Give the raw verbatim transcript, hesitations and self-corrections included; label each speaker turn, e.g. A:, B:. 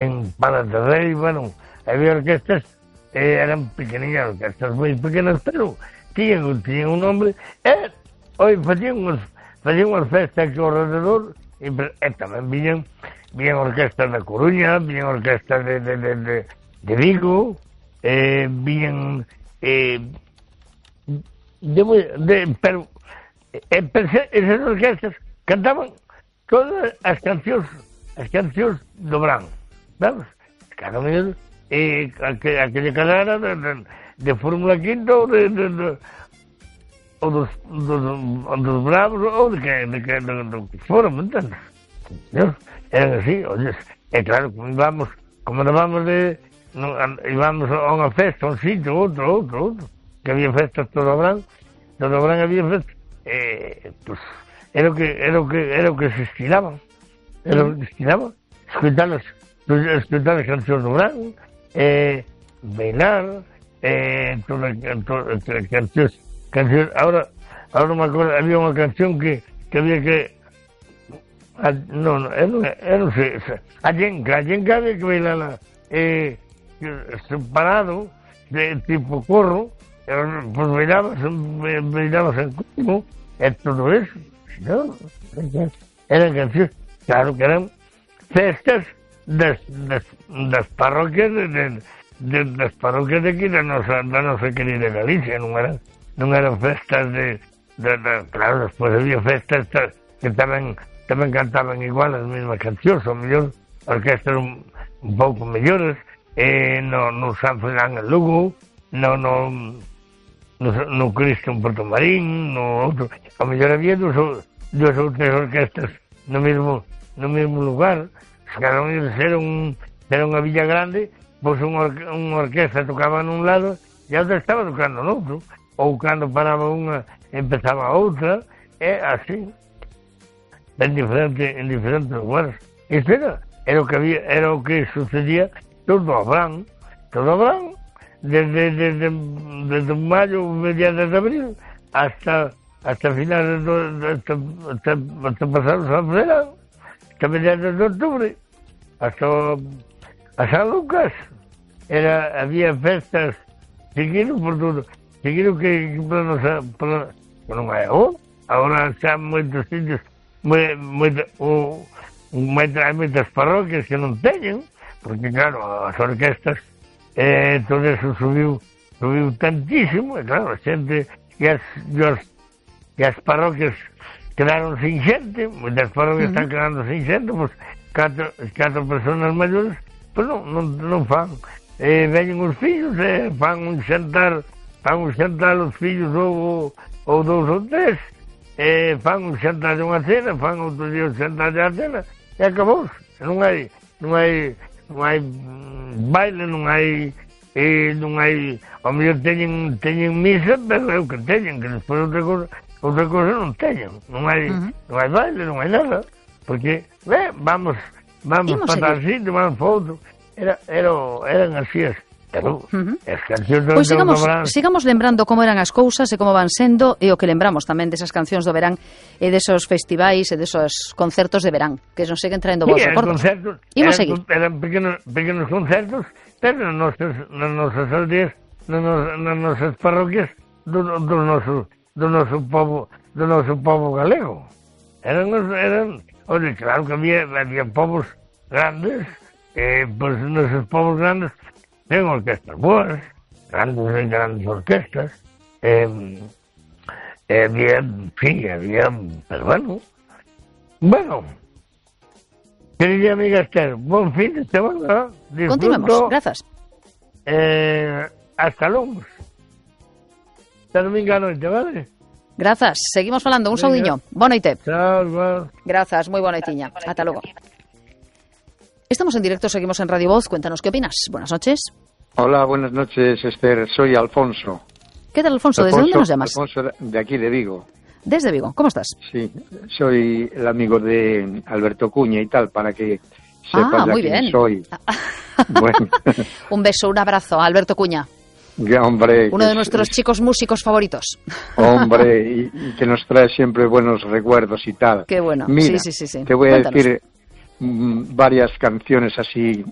A: en Palas de Rey, bueno, había orquestas, eh, eran pequeñas orquestas moi pequenas, pero tiñan, tiñan un nombre, e, oi, facían unhas, facían unhas festas aquí ao rededor, e, e tamén viñan, viñan orquestas da Coruña, viñan orquestas de, de, de, de, de Vigo, eh, viñan, eh, de, de, pero, eh, esas orquestas cantaban todas as cancións, as cancións do Brán, vamos, cada vez, eh, aquella carrera de, de, de Fórmula quinta ou de, de, de ou dos, dos, dos Bravos ou de que, de que, de, de, de que foron, entendes? ¿No? Eran así, oye, é claro, como íbamos, como íbamos de, no, íbamos a unha festa, a un sitio, outro, outro, outro, que había festas todo o Brán, todo o Brán había festas, eh, pues, era o que, era o que, era o que se estilaban, era o que se estilaban, escutar as, escutar as cancións do Brán, eh, bailar, eh, todas as cancións, cancións, ahora, ahora me acuerdo, había unha canción que, que había que, a, no, no, eu non, eu non sei, a Yenka, a Yenka había que bailarla, eh, separado, de tipo corro, pues bailabas, bailabas en cubo, e todo eso, no, eran cancións, claro que eran festas das, das, das parroquias de, de, de, das parroquias de aquí da nosa, da nosa querida Galicia, non eran, non eran festas de, de, de claro, despois había festas que tamén tamén cantaban igual as mesmas cancións, ou mellor orquestas un, un pouco mellores, eh, no, no San Fernán en Lugo, no, no, no, no Cristo en Porto Marín, no outro, ou mellor había dos, dos ou tres orquestas no mesmo, no mesmo lugar, cada un era, un, era unha villa grande, pois unha, or, unha orquesta tocaba nun lado e a outra estaba tocando no outro, ou cando paraba unha, empezaba a outra, e así, en diferente, en diferentes lugares. Isto era, era o que había, era o que sucedía todo o Brán, todo o Brán, desde, desde, desde maio, mediados de abril, hasta, hasta finales do, hasta, hasta, hasta pasar o San Fernán, hasta mediados de octubre, hasta a San Lucas, era, había festas, seguindo por todo, seguindo que, que para nosa, para, non é agora, agora xa moitos sitios, moi, moi, o, hai moitas parroquias que non teñen, porque claro, as orquestas, eh, todo eso subiu, subiu tantísimo, e claro, a xente, e as, e as, e as parroquias quedaron sin xente, moitas parroquias uh-huh. están quedando sin xente, pois, catro, catro personas maiores, pois non, non, non fan, eh, veñen os fillos, eh, fan un xantar, fan un xantar os fillos ou, ou dous ou tres, eh, fan un xantar de unha cena, fan outro día un xantar de a cena, e acabou, non hai, non hai, non hai baile, non hai, eh, non hai, ao mellor teñen, teñen misa, pero é o que teñen, que despois outra cosa, outra cosa non teñen, non hai, uh-huh. non hai baile, non hai nada, porque, eh, vamos, vamos para tal sitio, vamos para outro, era, era, eran así as, pero, uh-huh. as cancións do,
B: pois sigamos,
A: do verán.
B: sigamos lembrando como eran as cousas e como van sendo, e o que lembramos tamén desas cancións do verán e desos festivais e desos concertos de verán, que nos seguen traendo vos
A: sí,
B: recordos.
A: Concertos,
B: Imos
A: eran,
B: seguir.
A: Eran pequenos, pequenos concertos, pero nas nosas, nas nosas aldeas, nas, nas nosas parroquias do, do noso, do noso povo, do noso povo galego. Eran, eran, oye, claro que había, había povos grandes, eh, pois pues, nosos povos grandes ten orquestas boas, grandes grandes orquestas, eh, eh, había, sí, había, pero bueno, bueno, querida amiga Esther, buen fin de semana, disfruto.
B: Continuemos, grazas.
A: Eh, hasta luego. Hasta domingo a noite, vale?
B: Grazas, seguimos falando, un saudiño. Boa noite.
A: Chao, igual.
B: Grazas, moi boa noitiña. Ata logo. Estamos en directo, seguimos en Radio Voz. Cuéntanos qué opinas. Buenas noches.
C: Hola, buenas noches, Esther. Soy Alfonso.
B: ¿Qué tal, Alfonso? ¿Desde
C: Alfonso,
B: dónde nos llamas?
C: Alfonso, de aquí, de Vigo.
B: Desde Vigo. ¿Cómo estás?
C: Sí, soy el amigo de Alberto Cuña y tal, para que sepas
B: ah,
C: ya
B: muy
C: quién
B: bien.
C: soy. Bueno.
B: Un beso, un abrazo a Alberto Cuña.
C: Hombre,
B: uno de
C: es,
B: nuestros
C: es,
B: chicos músicos favoritos.
C: Hombre, y, y que nos trae siempre buenos recuerdos y tal.
B: Qué bueno.
C: Mira,
B: sí, sí, sí, sí.
C: te voy
B: Cuéntanos.
C: a decir, mm, varias canciones así